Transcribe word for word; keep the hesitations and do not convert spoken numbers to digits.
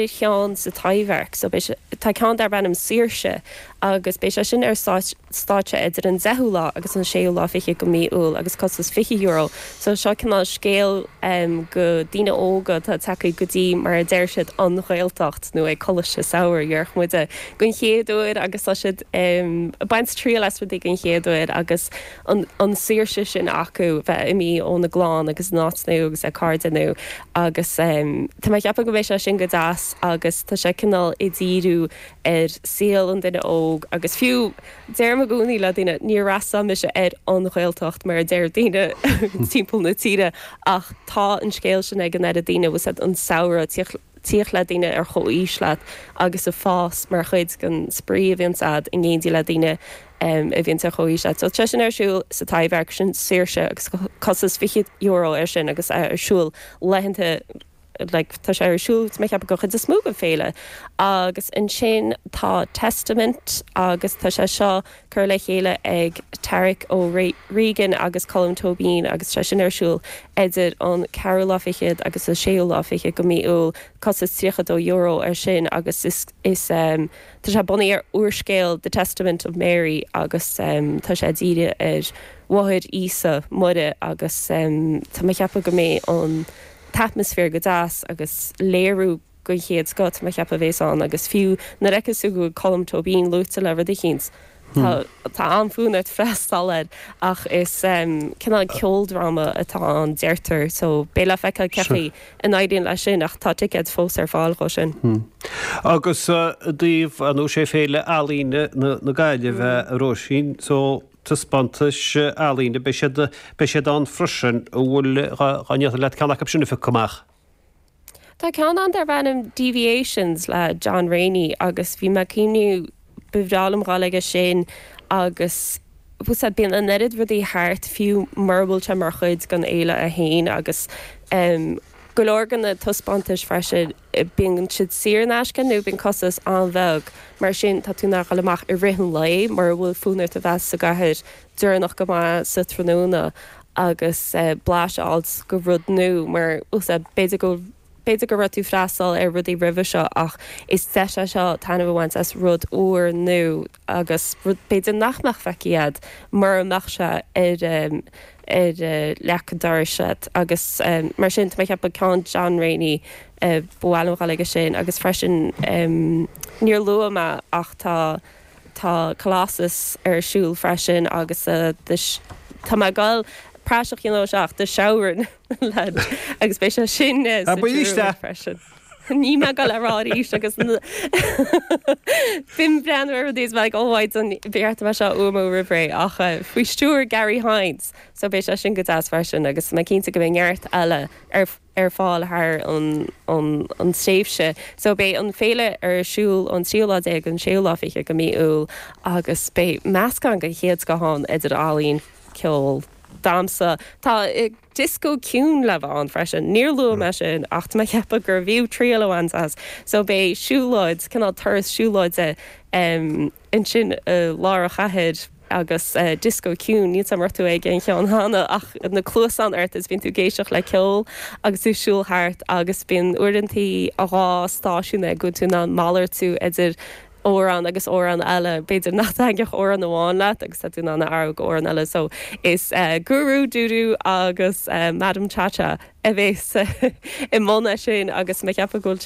Cheann sa Taibhdhearc, so tá ceann darb ainm Saoirse agus beidh sé sin ar stáitse idir an deichiú lá agus an séú lá fiche de mhí Iúil agus costas fiche euro. So seo cineál scéal um, go daoine óga tá tagtha go dtí mar a deir siad an Ghaeltacht nó ag coláiste samhraidh ar muide den chéad uair agus tá siad um, baint triail as rudaí den chéad uair agus an, an saoirse sin acu bheith imithe óna gclann agus áit nua agus a cairde nua agus um, Tá mé ceapadh go mbeidh sé sin go deas agus tá sé cineál ag díriú ar saol an duine óg agus fiú deirim i gcónaí le daoine níor fhreastail mise ar an Ghaeltacht mar a deir daoine timpeall na tíre ach tá an scéal sin ag an oiread daoine was an samhradh tíocht le daoine ar chomhaois leat agus a fás mar chuid den spraoi a bhíonn agat in éindí le daoine um, a bhíonn ar chomhaois leat. So tá sin ar siúl sa Taibhdhearc sin Saoirse agus costas fiche euro ar sin agus ar siúl laethanta like, tá sé ar siúl mé ceapadh go chuid is mó den féile. Agus ansin tá Testament agus tá sé seo curtha le chéile ag Tarek Ó Regan agus Colm Tóibín agus sé sin ar siúl idir an ceathrú lá fichead agus a séú lá fiche de mhí Iúil costas tríocha dó euro ar sin agus is, is um, tá sé bunaithe ar úrscéal The Testament of Mary agus um, tá sé dírithe ar mháthair Íosa Muire agus um, tá mé ceapadh go mbeidh an t-atmaisféar go deas agus léiriú den chéad scoth mé ceapadh bheas ann agus fiú nuair a fheiceann tú go Colm Tóibín luaite le rud éicint. Tá tá an-fhonn ort freastal air ach is um, cineál ceoldráma atá ann deirtear, so beidh le feiceáil cén chaoi a n-éiríonn leis sin ach tá ticéid fós ar fáil dó sin. Hmm. Agus uh, daoibh an sé Féile Ealaíne na, na Gaillimhe a Róisín, so taispeántais ealaíne beidh siad beidh siad ann freisin bhfuil dá leat ceann acu sin a phiocadh amach. Tá ceann ann darb ainm Deviations le John Rainey agus bhí mé cuimhniú bhreá liom dul aige sin agus bíonn an oiread rudaí thart fiú mura bhfuil sé mar chuid den fhéile a haon agus um, go leor de na taispeántais freisin bíonn siad saor in aisce nó bíonn costas an-bheag mar sin tá tú nach amach i rith an lae mar bhfuil fonn ort a bheith sa gcathair deireanach go maith sa tráthnóna agus uh, blaiseadh de rud nua mar b'fhéidir go b'fhéidir go raibh tú freastal ar rudaí roimhe seo ach is deis é seo taitneamh a bhaint as rud úr nua agus rud b'fhéidir nach mbeadh feicthe agat mar mbeadh sé ar um, ar uh, leac an dorais agus um, mar sin mé ceapadh ceann John Rainey uh, bhuail aige sin agus freisin um, níor luaigh mé ach tá tá Colossus ar siúl freisin agus uh, tá mé gal praiseach seach de Shauran agus beidh sé sin freisin. Ní me go le ráís agus bím brean rudaí like óhaid an bhéart me seo umó rih ach faoi stiúir Gary Hines, so beidh sé sin go deas freisin agus mé cinnte go mbeidh neart eile ar ar fáil thar an, an, an tréimhse. So beidh an féile ar siúl an tríú lá déag an séú lá fiche de mhí Iúil agus beidh meascán den chéad scoth ann idir ealaín ceol damhsa Tá disco ciúin le bheith ann freisin níor luaigh mé sin ach mé ceapadh gur bhfiú triail a bhaint as so beidh siúlóid cineál turas siúlóide um, ansin uh, lár an chathair agus uh, disco ciúin níl am tú ag an cheann cheana ach na cluasáin ort is bíonn tú ag éisteacht le ceol agus tú siúl thart agus bíonn uaireanta a dhá stáisiún go tú ná malartú idir amhrán agus amhrán eile b'fhéidir nach dtaitneodh amhrán amháin leat agus tú ná ar amhrán eile so is uh, Guru Dudu agus uh, Madam Chacha a bheas i mbun sin agus mé ceapadh go bhfuil